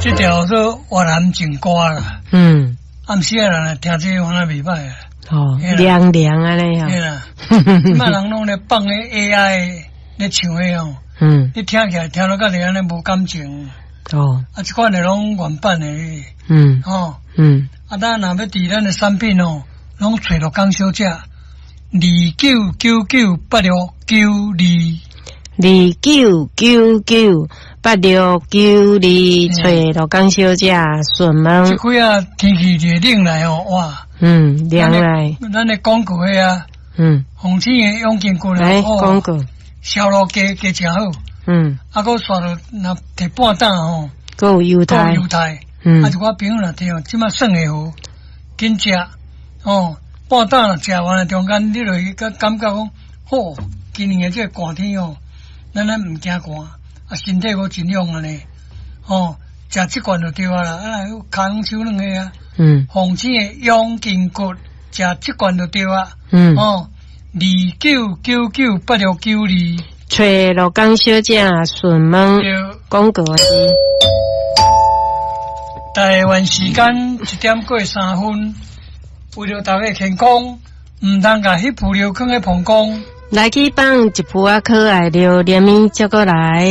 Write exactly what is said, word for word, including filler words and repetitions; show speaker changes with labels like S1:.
S1: 這條做越南情歌啦。
S2: 嗯。
S1: 暗時仔人聽這個敢若袂䆀啊。
S2: 哦，涼涼按呢
S1: 對啦，這擺人攏咧放彼 A I 咧唱的哦。
S2: 嗯。
S1: 你聽起來聽落甲你按呢無感情。
S2: 哦。
S1: 啊，這款的攏原版的。
S2: 嗯。
S1: 哦。
S2: 嗯。
S1: 啊，咱若欲佇咱的產品哦，攏揣陸江小姐，二九九九八六九二。
S2: 二九九九八六九二，揣陸江小姐順問。
S1: 這幾仔天氣熱冷來哦，哇！
S2: 嗯，涼來。
S1: 咱的廣告彼啊，
S2: 嗯，
S1: 紅星的養筋骨
S2: 來廣告，
S1: 銷路加加誠好。
S2: 嗯。
S1: 啊，閣煞落若提半擔吼，
S2: 閣有猶太，
S1: 猶太。
S2: 嗯。
S1: 啊，一寡朋友若聽，這擺算會好，緊食哦，半擔若食完中間，你就會感感覺講，好，今年的這個寒天哦，咱咱毋驚寒，啊，身體閣真勇按呢，哦，食這罐就對啊啦，啊，跤手兩个啊，
S2: 嗯，
S1: 紅星的養筋骨，食這罐就對啊，
S2: 嗯，
S1: 哦，二九九九八六九二，
S2: 揣陸江小姐順問廣告是。
S1: 台灣時間一點過三分，為著大家健康，毋通共彼浮尿囥佇膀胱。
S2: 來去放一噗仔可愛著連綿接過來。